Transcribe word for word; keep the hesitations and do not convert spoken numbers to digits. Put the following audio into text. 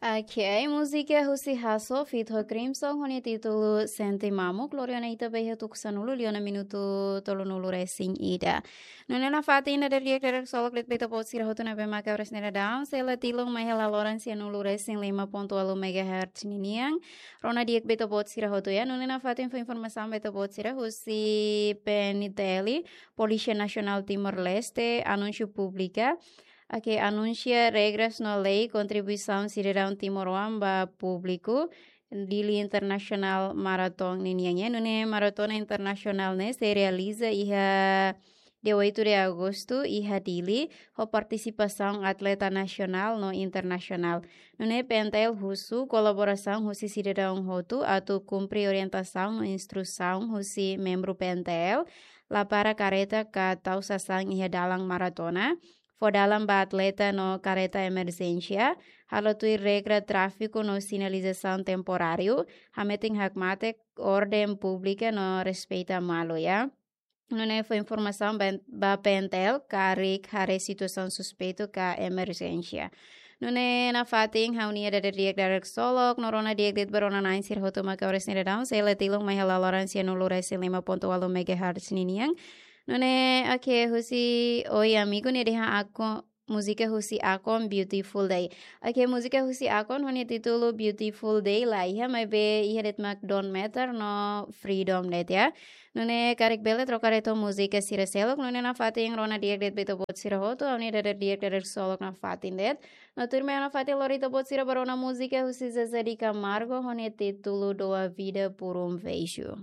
Ok, múzika husi Hasso feat ho Crimson ho nia títulu Sente Mamuk, lori ona ita ba iha tuku sanulu liu ona minutu tolunulu resin ida. Nune'e nafatin ida di'ak dadeer-solok de'it ba ita-boot sira hotu ne'ebé mak oras ne'e daudaun, sei la tilun mai iha laloran sianulu resin lima pontu ualu megahertz ninian. Rona di'ak ba ita-boot sira hotu, ya. Nune'e nafatin fó informasaun ba ita-boot sira husi P N T L, Polísia Nasionál Timor-Leste, anúnsiu públika. Ok, anunsia regras no lei kontribuisaun sidadaun timoroan ba públiku, Dili International Marathon ninian, ya. Nune'e maratona internasionál ne'e sei realiza iha dia oito de agosto iha Dili, ho partisipasaun atleta nasionál no internasionál. Nune'e P N T L husu kolaborasaun husi sidadaun hotu atu kumpre orientasaun no instrusaun husi membru P N T L, la para kareta ka tau sasán iha dalan maratona, fó dalan ba atleta no kareta emerjénsia, halo tuir regra tráfiku no sinalizasaun temporáriu, hametin hakmatek orden públika no respeita malu, ya. Nune'e fó informasaun ba, ba P N T L karik haree situasaun suspeitu ka emerjénsia. Nune'e nafatin ha'u-nia ida di'ak dadeer-solok, no rona di'ak de'it ba rona-na'in sira hotu mak oras ne'e daudaun, sei la tilun mai iha laloran sianulu resin lima pontu ualu megahertz ninian. Nune'e, ok, husi Oi Amigo ne'e dehan Akon, múzika husi Akon Beautiful Day. Ok, múzika husi Akon ho nia títulu Beautiful Day la iha, maibé iha de'it mak Don't Matter no Freedom de'it, ya. Nune'e karik bele troka de'it ho múzika sira seluk, nune'e nafatin rona di'ak de'it ba ita-boot sira hotu, ha'u-nia ida di'ak dadeer-solok nafatin de'it. No tuirmai nafatin lori ita-boot sira ba rona múzika husi Zezé de Camargo ho nia títulu Dou a Vida por um Beijo.